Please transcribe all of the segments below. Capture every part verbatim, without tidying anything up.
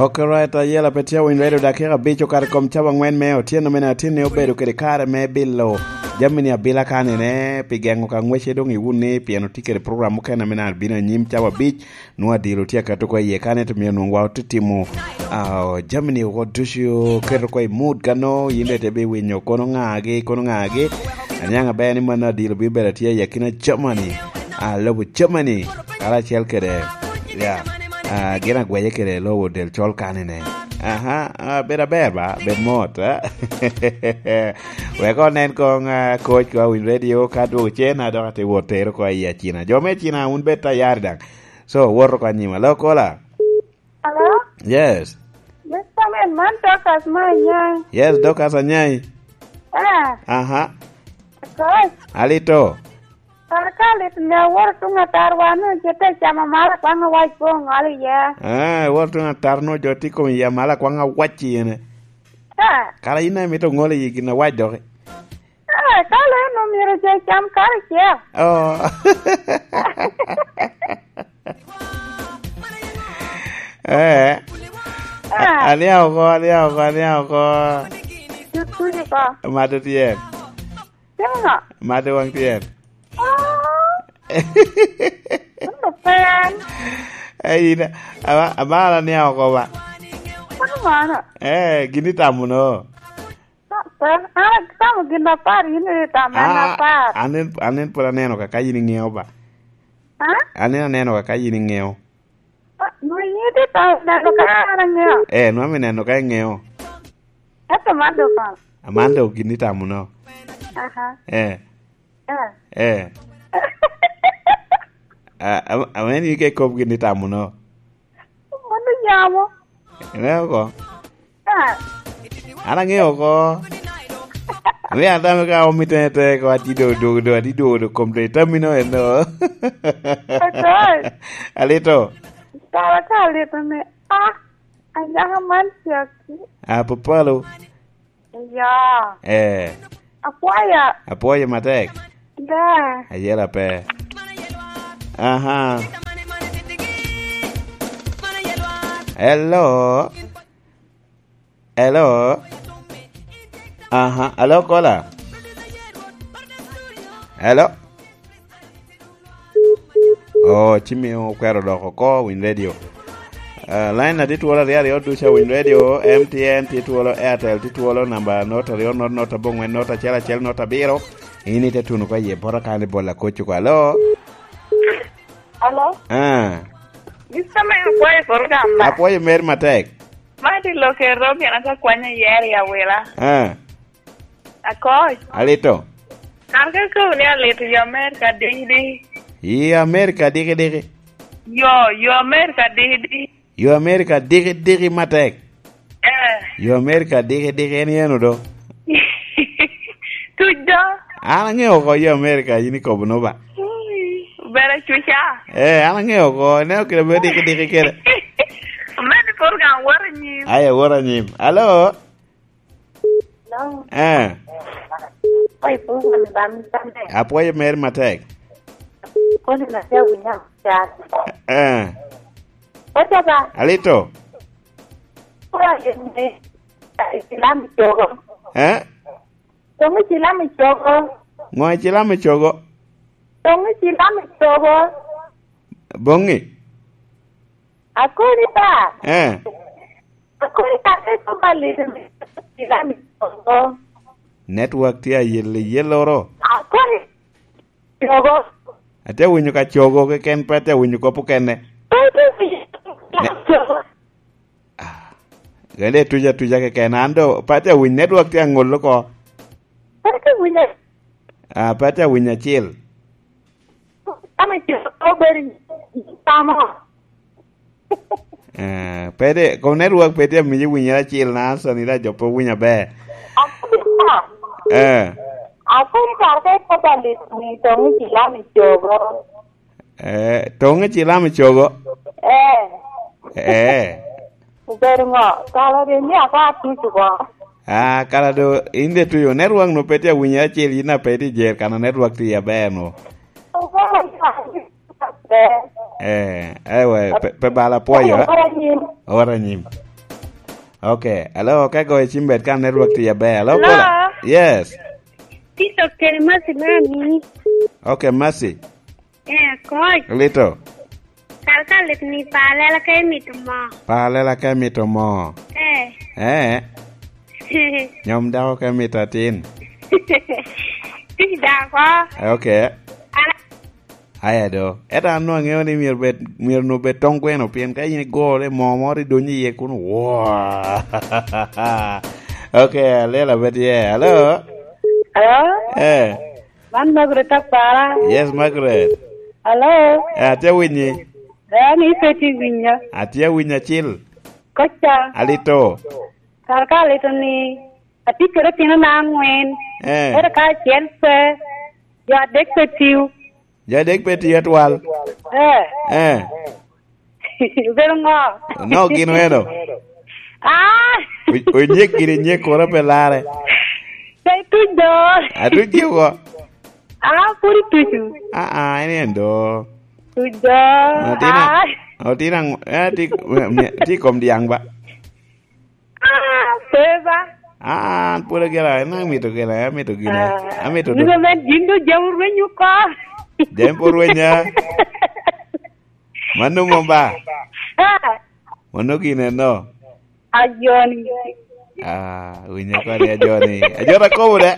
Ok, right, ayela pe tye awinyo redo dakika abic okato i kom cawa angwen me otyeno mene atin ni obedo kede kare me bilo jami ni abila kanene pi gengo ka ngwece dong iwun ni pien otye kede program mukene mene abino anyim cawa abic nwa dilo tye akato ko iye kane to mio nwa ote timo ah, jami ni oko ducu keto ko i mood kano yin de te bi winyo kono ngagi kono ngagi aniang aber ni mano adilo bi bedo tye i akina Germany ah, lobo Germany karacel kede ya ah, gin agwece kede lobo del col kanine aha ah, bedo aber ba bed mot ah. Wek onen kong ah, coach ko awiny radio ka dwogo cen a dok ate wot tero ko i acina jo me acina un bed tayari daŋ so woto ko anyima lo kola Hello? Yes. Mister Man, man Dorcas ma Anyai. Yes, Dorcas Anyai. Eh. Aha. Coach. Alito. Kar ka lit ne aworo tuŋ atar wan no je te camo mara kwaŋ awac po ŋol iye. Eh, aworo tuŋ atar no jo ti kom iya mala kwaŋ awac iyene. Eh. Kara yin a mito ŋol iyi gin awac doki. Eh, ka le no myero jo cam karacel. Oh. Eh. Ah. Aniaŋ oko, aniaŋ oko, aniaŋ oko. Tutuji ko. Mato tyen. Timo ŋo? Mato waŋ tyen. Oh. Ento pen. Eh, yin, ama, ama an aniaŋ oko ba. Mano mano. Eh, gin itamo no. An atamo gin apar, yin itamo en Ah, apar. An en, an en pwod aneno ka, ka yin iŋeo ba. Ah? An en aneno ka, ka yin iŋeo. Ah, nwe yin itye tamo neno ka an aŋeo. Eh, nwa mi neno ka iŋeo. Ento man dok kono. Aman dok gin itamo no. Aha. Eh. Eh. Eh. Ah, am- amen yin ke kop gin itamo no. Mano nyamo. Ine oko. Ah. An aŋeo oko. Ame an dame ka omi tene te ko ati do do do ati do do kom te tamino eno. Akoy. Alito. Kara ka alito ni ah anyaka man caki. Ah, papalo. Ya. Eh. Apwoyo. Apwoyo matek. Da. Ayela pe. Aha. Hello. Hello. Aha. Hello, caller. Hello. Oh, ci miyo okwero dok oko winy radio. Uh, line na tye twolo aryo aryo ducu awiny radio, M T N tye twolo, Airtel tye twolo, namba not aryo not not abongwen not acel acel not abiro. In ite tuno ka ye bota kan i bola kocu kwa. Alo? Alo? Ah. Mister Mayor, apwoyo program ba? Apwoyo mer matek. Ma di loke Robian ata kwanya yeri awila. Ah. Akoc. Alito. An ka kobo ni alito yo Amerika diki diki. I Amerika diki diki. Yo, yo Amerika diki diki. Yo Amerika diki diki matek. Eh. Yo Amerika diki diki en yeno do. Tuc do. An aŋeo oko yo Amerika yin ikobo no ba. Ui, bere cuca. Eh, an aŋeo oko, ineno kede me diki diki kede. Mani program woro anyim. Aya, woro anyim. Alo? Hello. Eh. Oi, program ba mi tame. Apwoyo mer matek. Koni na te winya chat. Eh. Ocha ba. Alito. Ora yende. Islam chogo. Eh? Tong Islam chogo. Ngo Islam chogo? Tong Islam chogo. Bongi. Akoni ba. Eh. Akoni ba ke ko ba lito mi Islam chogo. Network tye ayelle yelloro. Akoni chogo. Ate winyo ka chogo keken pe ate winyo kop okene. Pe ate winyo ka chogo. Ah, gale tuja tuja keken an do pe ate winyo network tye angol oko. Pe ate winyo. Ah, pe ate winyo acil. Ame chogo beri tamo. Eh, pede kom network pe tye miyo winyo acil na Hassan ira jo pe winyo aber. Eh. Akwai kar ka ikoba lit ni tong i kilami chogo. Eh, tong i kilami chogo. Eh. Eh. Obedo ngo? Kala de ni akwa tucu ko. Ah, kala do in de tuyo network no pe tye winyo acil in a pe tye jer kana network tye aber no. Eh, ewe, pe, pe bala pwoyo. Ora nyim. Ora nyim. Ok, alo, ka igoyo cim bed ka network tye aber. Alo, Hello? Kola? Yes. Tito kede Mercy me amini. Ok, Mercy. Eh, akoc. Lito. Kal ka lit ni pa lela ka imito mo. Pa lela ka imito mo. Eh. Eh. Nyom dako ka imito atin. Tic dako. Ok. Ala- Aya do. Ento an nwaŋ aŋeo ni myero bed, myero nwoŋ bed tong gweno, pien ka in igore moo moro idonyo iye kun, waa. Ok, alela bed ye. Alo? Alo? Eh. Man Margaret Apara. Yes, Margaret. Alo? Eh, atye winyi. Eh, ni pe tye winyo. Atye winyo acil. Koca. Alito. Kar ka alito ni, atye kede otinona aŋwen. Eh. Ento ka acel pe, jo adek pe tiyo. Jo adek pe tiyo atwal. Eh. Eh. Obedo ŋo? No, gin weno? Ah! O-, onyek gini nyek kono pe larre. Pe tuc do. Atuc gi oko. Ah, pwod itucu. Ah, ah, en en do. Tuc do. Otina, ah. Otina, eh, ti, mi-, mi-, ti kom diaŋ ba. Ah, pe ba. Ah, an pwod agera, en amito gene, amito gene, ah, amito do. Nigo men gin do jam orweny oko. Jam pwod rwenya. Mano mom ba? Ah. Mano gin eno. Ajoni. Ah, winyo koni ajoni. Ajoni akobo de.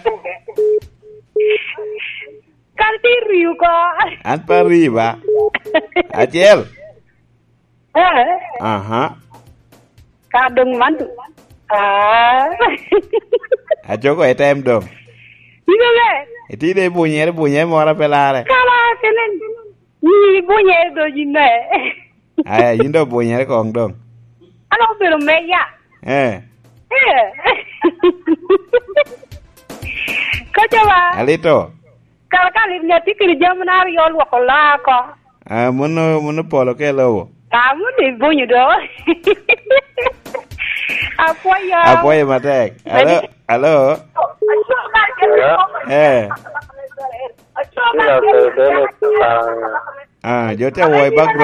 Kal ti riu ko. An pa ri ba. Acel. Eh. Aha. Ka dong man tu. Ah. Ajogo e tem dong. Ino le. Iti de bunyere, bunyere moro pe lare. Kala kenen. Ni bunyere do jime. Aya, yin do bunyere kong dong. Ano obedo meya. Eh. Eh. Kocha ba. Alito. Kara ka lim nya tye kede jami na aryo olwoko laa oko. Ah, muno, muno polo ka i lobo. Ah, muno i bunyo do. Apwoyo. Apwoyo matek. Alo, alo. Hello? Eh. Kila Fedele Kapanga. Ah, jo tye awoyo background.